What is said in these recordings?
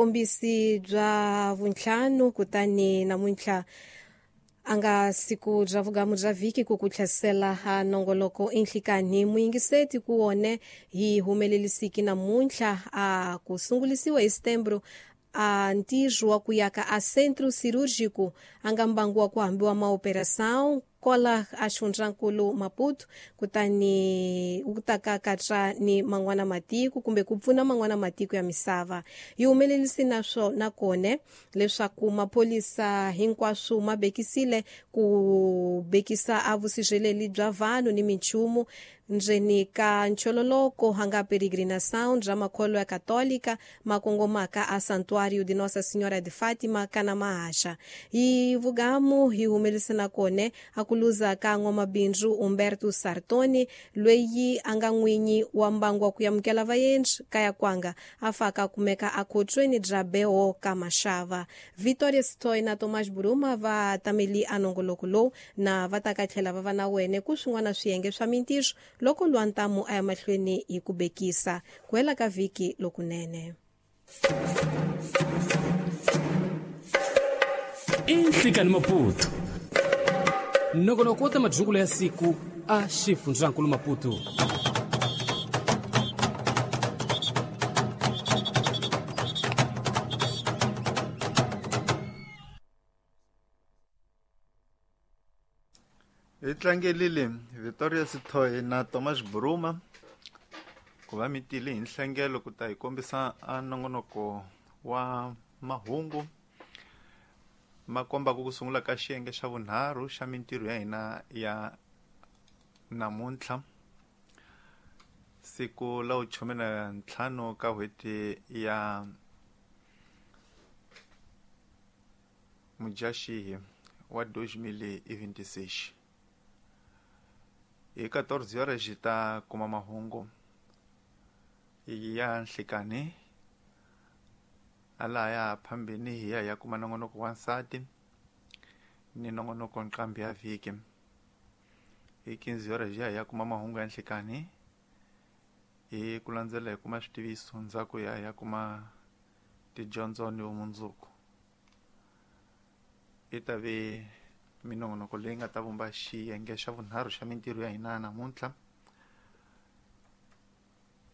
Kombisi bya vuntlhanu kutani namuntlha a nga siku bya vugamu bya vhiki ku ku tlhesela ha nongoloko enhlikani muyingiseti ku wone hi humelelisiki namuntlha a ku sungulisiwa hi setembro a ntirho wa ku yaka a centro cirúrgico a nga mbangu wa ku hambiwa maoperação kola a xifundzankulu Maputo kutani wu ta ka katsa ni man'wana matiko kumbe ku pfuna man'wana matiko ya misava. Yi humelelisi naswo nakone leswaku maphorisa hinkwaswo ma bekisile ku bekisa a vusirheleli bya vanhu ni minchumu ndzeni ka nchololoko a nga peregrinação bya makholo ya katolika ma kongomaka a Santuário de Nossa Senhora de Fátima kana mahaxa. Hi vugamu hi humelise nakone a ku luza ka n'wamabindzu Umberto Sartoni loyi a nga n'winyi wa mbangu wa ku amukela vaendzi kaya kwanga a faka a kumeka akhotsweni bya Beho ka Maxava. Victoria Stoy na Tomás Buruma va tameli a nongoloko lowu na va ta ka tlhela va va na wene ku swin'wana swiyenge swa mintirho loko lwantamu a ya mahlweni hi ku bekisa. Ku hela ka vhiki lokunene. Inhlikani Maputo nongonoko wa ta majungulo ya siku a xifundzankulu Maputo. Hi tlangelile Victoria Sithoyi na Thomas Bruma ku va mi tile hi nhlengelo ku ta hi kombisa a nongonoko wa mahungu ma kombaka ku sungula ka xiyenge xa vunharhu xa mintirho ya hina ya namuntlha siku la vuchume na ntlhanu ka n'hweti ya Mudyaxihi wa 2026. Hi 14 horas hi ta kuma mahungu ya nhlikani alaya phambini hi ya hi ya kuma nongonoko wa nsati ni nongonoko nqambi ya vhiki. Hi 15 horas hi ya hi ya kuma mahungu ya nhlikani hi ku landzela hi kuma switiviso ndzhaku hi ya hi ya kuma tidyondzo ni vumundzuku. Yi ta ve minongonoko leyi nga ta vumba xiyenge xa vunharhu xa mintirho ya hina namuntlha.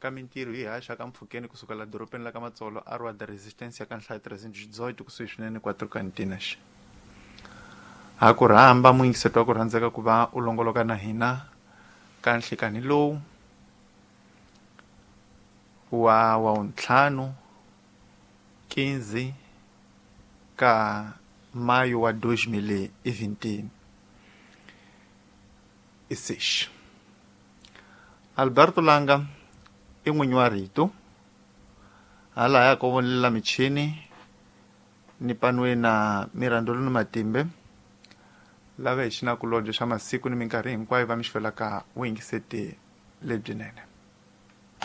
Ka mintirho yi haxa ka mpfhukeni kusuka la dorobeni la ka Matsolo a Rua da Resistência ka nhlayo 318 kusuhi swinene Quatro Cantinas. Ha ku rhamba muyingiseti wa ku rhandzeka ku va u longoloka na hina ka nhlikani lowu wa wavuntlhanu 15 ka maio wa 2026. Alberto Langa i n'winyi wa rito halaya ko vonelela michini ni panwe na Mirandolo ni Matimbe lava hi xinakulobye xa masiku ni minkarhi hinkwayo va mi xvelaka vuyingiseti lebyinene.